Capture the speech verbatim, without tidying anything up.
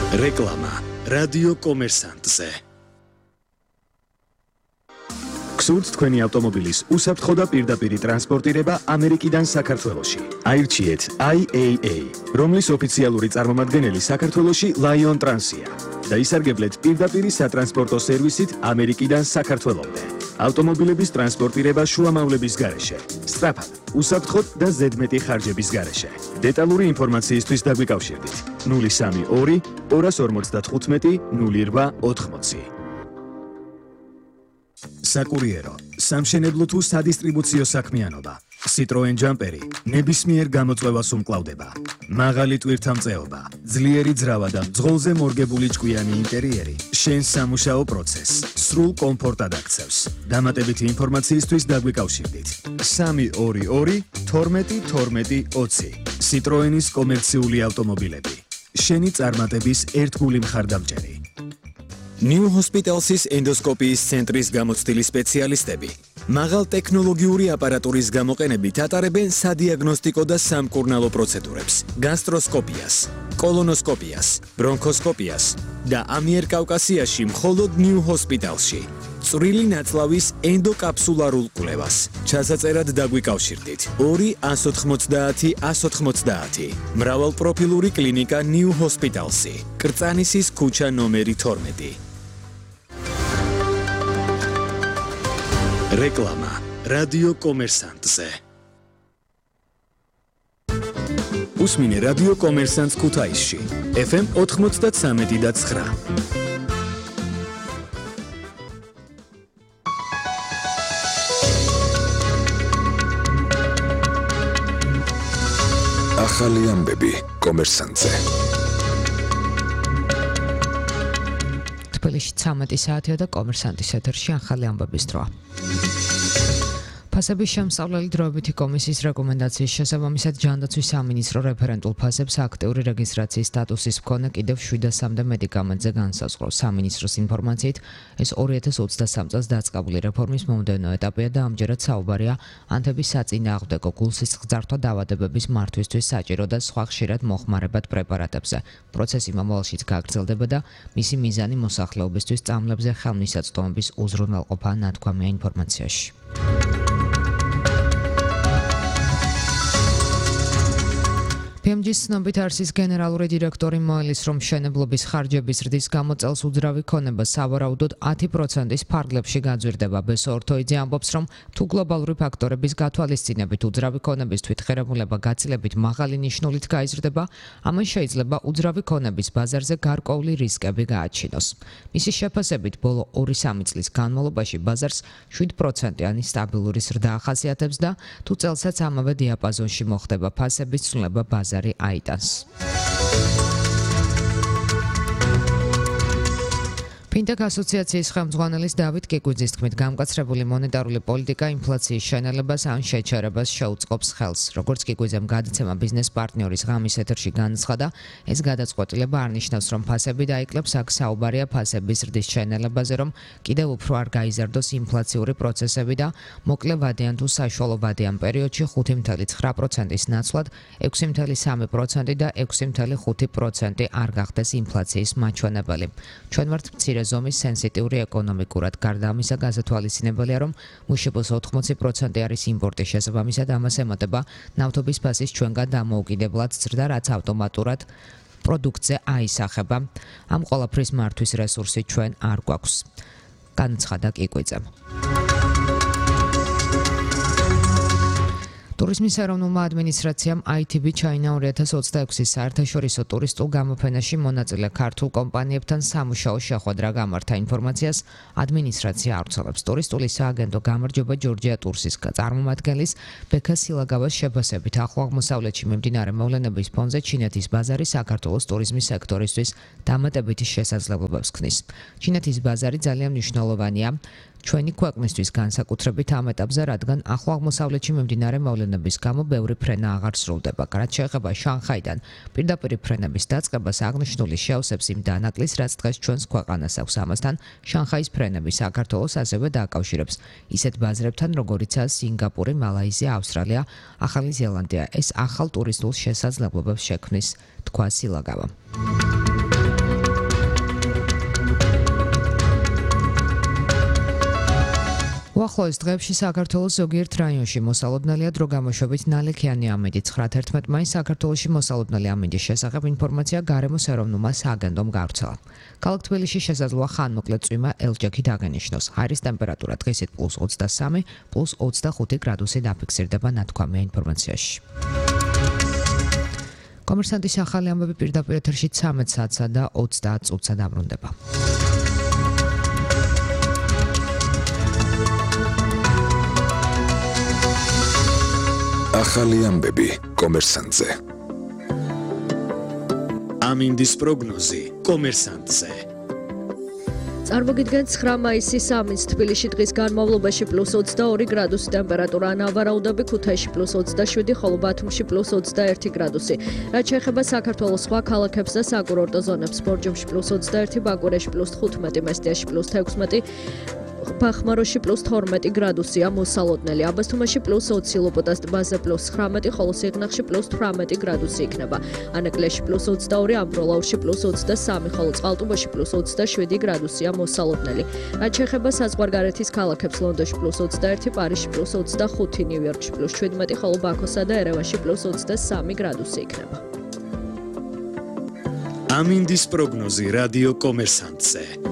რეკლამა რადიო კომერსანტზე. გსურთ თქვენი ავტომობილის უსაფრთხო და პირდაპირი ტრანსპორტირება ამერიკიდან საქართველოში. აირჩიეთ I A A, რომლის ოფიციალური წარმომადგენელი საქართველოში Lion Transია და ისარგებლეთ პირდაპირი სატრანსპორტო სერვისით ამერიკიდან საქართველომდე. ავტომობილების ტრანსპორტირება შუამავლების გარეშე, სწრაფად, უსაფრთხოდ და ზედმეტი ხარჯების გარეშე. დეტალური ინფორმაციისთვის დაგვიკავშირდით ნული სამი ორი ორას ორმოცდათხუთმეტი ნული რვა ოთხმოცი. საკურიერო, სამშენებლო თუ სადისტრიბუციო საქმიანობა. Citroen Jumperi ნებისმიერ გამოწვევას უმკლავდება. მაღალი ტვირთამწეობა, ძლიერი ძრავა და მძღოლზე მორგებული ჭკვიანი ინტერიერი შენს სამუშაო პროცესს სრულ კომფორტად აქცევს. დამატებითი ინფორმაციისთვის დაგვიკავშირდით სამი ორი ორი თორმეტი თორმეტი ოცი. Citroenis კომერციული ავტომობილები. შენი წარმატების ერთგული მხარდამჭერი. New Hospitals's ენდოსკოპიის ცენტრის გამოცდილი სპეციალისტები მაღალ ტექნოლოგიური აპარატურის გამოყენებით ატარებენ სადიაგნოსტიკო და სამკურნალო პროცედურებს, გასტროსკოპიას, კოლონოსკოპიას, ბრონქოსკოპიას და ამიერკავკასიაში მხოლოდ New Hospitalsში. წვრილი ნაწლავის ენდოკაფსულარულ კვლევას. ჩასაწერად დაგვიკავშირდით ორი ას ოთხმოცდაათი ას ოთხმოცდაათი. მრავალპროფილური კლინიკა New Hospitalsი. კრწანისის ქუჩა ნომერი თორმეტი. რეკლამა რადიო კომერსანტზე. უსმინე რადიო კომერსანტს ქუთაისში. F M ოთხმოცდათსამეტი და ცხრა. ახალი ამბები კომერსანტზე. თბილისში ცამეტი საათია და კომერსანტის ეთერში ახალი ამბების დროა. ფასების შემსწავლელი დროებითი კომისიის რეკომენდაციის შესაბამისად ჯანდაცვის სამინისტრო რეფერენტულ ფასებს აქტიური რეგისტრაციის სტატუსის მქონე კიდევ შვიდასამდე მედიკამენტზე განსაზღვრავს. სამინისტროს ინფორმაციით, ეს ორი ათას ოცდასამ წელს დაწყებული რეფორმის მომდევნო ეტაპია და ამჯერად საუბარია ანთების საწინააღმდეგო გულსისხლძარღვთა დაავადებების მართვისთვის საჭირო და სხვა ხშირად მოხმარებად პრეპარატებზე. პროცესი მომავალშიც გაგრძელდება და მისი მიზანი მოსახლეობისთვის წამლებზე ხელმისაწვდომების უზრუნველყოფა ნათქვამია ინფორმაციაში. P M G-ის ცნობით არსის გენერალური დირექტორი მოელის, რომ მშენებლობის ხარჯების ზრდის გამო წელს უძრავი ქონება სავარაუდოდ ათი პროცენტის ფარგლებში გაძვირდება. ბესო ორთოიძე ამბობს, რომ თუ გლობალური ფაქტორების გათვალისწინებით უძრავი ქონების თვითღერებულება გაცილებით მაღალი ნიშნულით გაიზრდება, ამან შეიძლება უძრავი ქონების ბაზარზე გარკვეული რისკები გააჩინოს. მისი შეფასებით, ბოლო ორი-სამი წლის განმავლობაში ბაზარს შვიდ პროცენტიანი სტაბილური ზრდა ახასიათებს და თუ წელსაც ამავე დიაპაზონში მოხდება ფასების ცვლილება ბაზარში აიტანს. ფინტექ ასოციაციის ხელმძღვანელის დავით კიკუძის თქმით, გამკაცრებული მონეტარული პოლიტიკა ინფლაციის შენელებას ან შეჩერებას შეუწყობს ხელს. როგორც კიკუძემ გადაცემა ბიზნეს პარტნიორის ღამის ეთერში განაცხადა, ეს გადაწყვეტილება არ ნიშნავს, რომ ფასები დაიკლებს, აქ საუბარია ფასების ზრდის შენელებაზე, რომ კიდევ უფრო არ გაიზარდოს ინფლაციური პროცესები და მოკლე ვადიან თუ საშუალო ვადიან პერიოდში ხუთი ცხრილი ცხრა პროცენტის ნაცვლად ექვსი ცხრილი სამი პროცენტი და ექვსი ცხრილი ხუთი პროცენტი არ გახდეს ინფლაციის მაჩვენებელი. ჩვენ ვართ მცირე ზომის სენსიტიური ეკონომიკურად. გარდა ამისა, გასათვალისწინებელია, რომ მუშებოს ოთხმოცი პროცენტი არის იმპორტი, შესაბამისად ამას ემატება ნავთობის ფასის ჩვენგან დამოუკიდებლად ზრდა, რაც ავტომატურად პროდუქტზე აისახება. ამ ყველაფრის მართვის რესურსი ჩვენ არ გვაქვს. განაცხადა კიკვიძემ. ტურიზმის ეროვნულმა ადმინისტრაციამ I T B China ორი ათას ოცდაექვსის საერთაშორისო ტურისტულ გამოფენაში მონაწილე ქართულ კომპანიებთან სამუშაო შეხვედრა გამართა. ინფორმაციას ადმინისტრაცია ავრცელებს. ტურისტული სააგენტო გამარჯობა ჯორჯია ტურსის წარმომადგენლის ბექა სილაგავას შეფასებით, ახლო აღმოსავლეთში მიმდინარე მოვლენების ფონზე ჩინეთის ბაზარი საქართველოს ტურიზმის სექტორისთვის დამატებითი შესაძლებლობებს ქმნის. ჩინეთის ბაზარი ძალიან მნიშვნელოვანია ჩვენი ქვეყნისთვის განსაკუთრებით ამ ეტაპზე, რადგან ახლო აღმოსავლეთში მიმდინარე მოვლენების გამო ბევრი ფრენა აღარ სრულდება. რაც შეეხება შანხაიდან პირდაპირ ფრენების დაწყებას, აღნიშნული შეავსებს იმ დანაკლისს, რაც დღეს ჩვენს ქვეყანას აქვს. ამასთან შანხაის ფრენები საქართველოს ასევე დააკავშირებს ისეთ ბაზრებთან, როგორიცაა სინგაპური, მალაიზია, ავსტრალია, ახალი ზელანდია. ეს ახალ ტურისტულ შესაძლებლობებს შექმნის, თქვა სილაგავა. უახლოეს დღეებში საქართველოს ზოგიერთ რაიონში მოსალოდნელია დრო გამოშვებით ნალექიანი ამინდი. ცხრა თერთმეტ მაისს საქართველოში მოსალოდნელი ამინდის შესახებ ინფორმაცია გარემოს ეროვნულმა სააგენტომ გავრცელა. ქალაქ თბილისში შესაძლოა ხანმოკლე წვიმა ელჯექით აღენიშნოს. ჰაერის ტემპერატურა დღისით პლუს ოცდასამი, პლუს ოცდახუთი გრადუსი დაფიქსირდება ნათქვამია ინფორმაციაში. კომერსანტის ახალი ამბები პირდაპირ ეთერში ცამეტ საათსა და ოცდაათ წუთსა დაბრუნდება. ახალი ამბები კომერსანტზე. ამინდის პროგნოზი კომერსანტზე. წარმოგიდგენთ ცხრა მაისის ამინდს თბილისში დღის განმავლობაში პლუს ოცდაორი გრადუსი ტემპერატურა, ნავარაუდები ქუთაისში პლუს ოცდაშვიდი, ხოლო ბათუმში პლუს ოცდაერთი გრადუსი. რაც შეეხება საქართველოს სხვა ქალაქებს და საკურორტო ზონებს, ბორჯომში პლუს ოცდაერთი, ბაკურეში პლუს თხუთმეტი, მესტიაში პლუს თექვსმეტი, ბახმაროში პლუს თორმეტი გრადუსია მოსალოდნელი, აბასთუმანში პლუს ოცი, ლოპოტას ტბაზე პლუს ცხრამეტი, ხოლო სიღნაღში პლუს თვრამეტი გრადუსი იქნება. ანაკლიაში პლუს ოცდაორი, ამბროლაურში პლუს ოცდასამი, ხოლო წყალტუბოში პლუს ოცდაშვიდი გრადუსია მოსალოდნელი. რაც შეეხება საზღვარგარეთის ქალაქებს, ლონდონში პლუს ოცდაერთი, პარიზში პლუს ოცდახუთი, ნიუ-იორკში პლუს შვიდმეტი, ხოლო ბაქოსა და ერევანში პლუს ოცდასამი გრადუსი იქნება. ამინდის პროგნოზი რადიო კომერსანტზე.